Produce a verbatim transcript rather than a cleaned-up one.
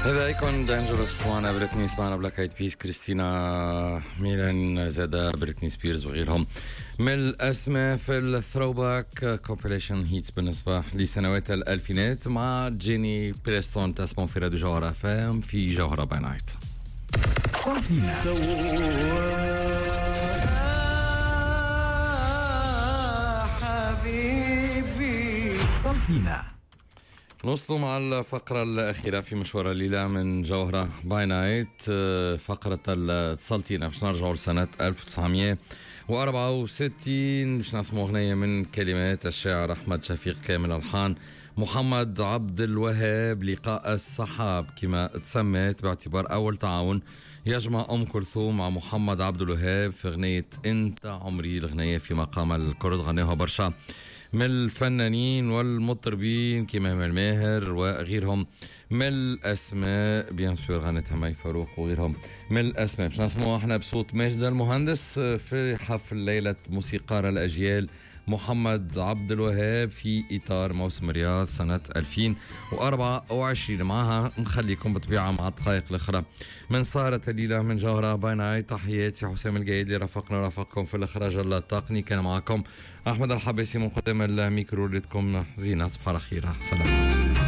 هذا Akon Dangerous وانا بريتني، سمعنا Black Eyed Peas، كريستينا ميلان، زادا بريتني سبيرز وغيرهم من الاسماء في ال throwback compilation hits بالنسبة لسنوات الالفينات مع جيني بريستون. تسمعوا في راديو جوهرة FM في جوهرة by Night. سلطينة حبيبي سلطينة. نوصلوا مع الفقرة الأخيرة في مشوار الليلة من جوهرة by Night، فقرة التسلطينة. باش نرجعوا لسنة ألف وتسعمية وأربعة وستين، باش نسمعوا أغنية من كلمات الشاعر أحمد شفيق كامل، ألحان محمد عبد الوهاب، لقاء السحاب كما تسمت، باعتبار أول تعاون يجمع أم كلثوم مع محمد عبد الوهاب في أغنية أنت عمري. الأغنية في مقام الكرد، غناها برشا من الفنانين والمطربين كما امال ماهر وغيرهم من الاسماء، bien sûr غنتها مي فاروق وغيرهم من الاسماء. باش نسمعوا احنا بصوت ماجد المهندس في حفل ليلة موسيقار الاجيال محمد عبد الوهاب في اطار موسم الرياض سنة ألفين وأربعة وعشرين. معها نخليكم بطبيعة مع الدقائق الاخرى من سهرة الليلة من جوهره by Night. تحياتي حسام القايد اللي رافقنا رافقكم في الاخراج التقني. كان معكم احمد الحباسي من قدام الميكرو. ليلتكم زينه، صباح الخير، سلام.